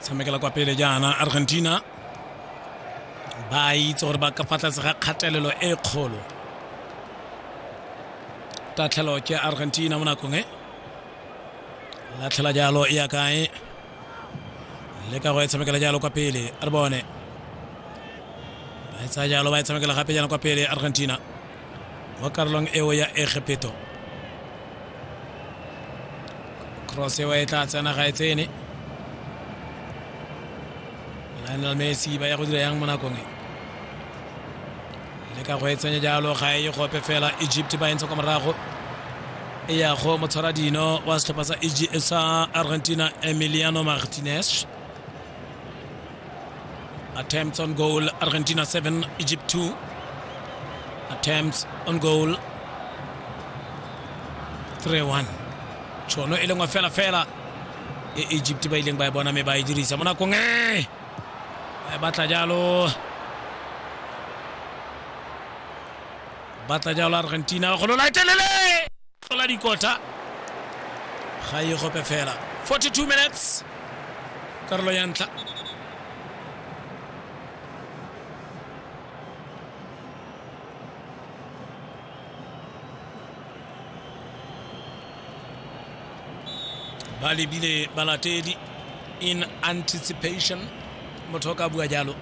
Tshamekela kwa pele jaana Argentina, ba itse gore ba ka fa tlase ga kgatelelo e kgolo. Tatlhelo ke Argentina mo nakong e latlhela jalo e ya kae, le ka go e tshamekela jalo kwa pele. Re bone ba e tsaya jalo, ba e tshamekela gape jaana kwa pele Argentina mo karolong eo ya Egepeto. Cross eo e tla tsena, ga e tsene. Lionel Messi ba ya go dira yang mo nakong e? Le ka go e tsenya jalo, ga e gope fela. Egypt ba e ntsha kwa morago, e ya go motshwara dino wa setlhopha sa sa Argentina, Emiliano Martinez. Attempts on goal, Argentina 7, Egypt 2. Attempts on goal 3-1. Tšhono e lengwe fela fela e Egypt ba ileng ba e bona, mme ba e dirisa mo nakong e ba e batla jalo. Batla jalo Argentina go lola etelele tlola dikota, ga e gope fela. 42 minutes karolo ya ntlha. Ba lebile balatedi in anticipation, motho o ka bua jalo.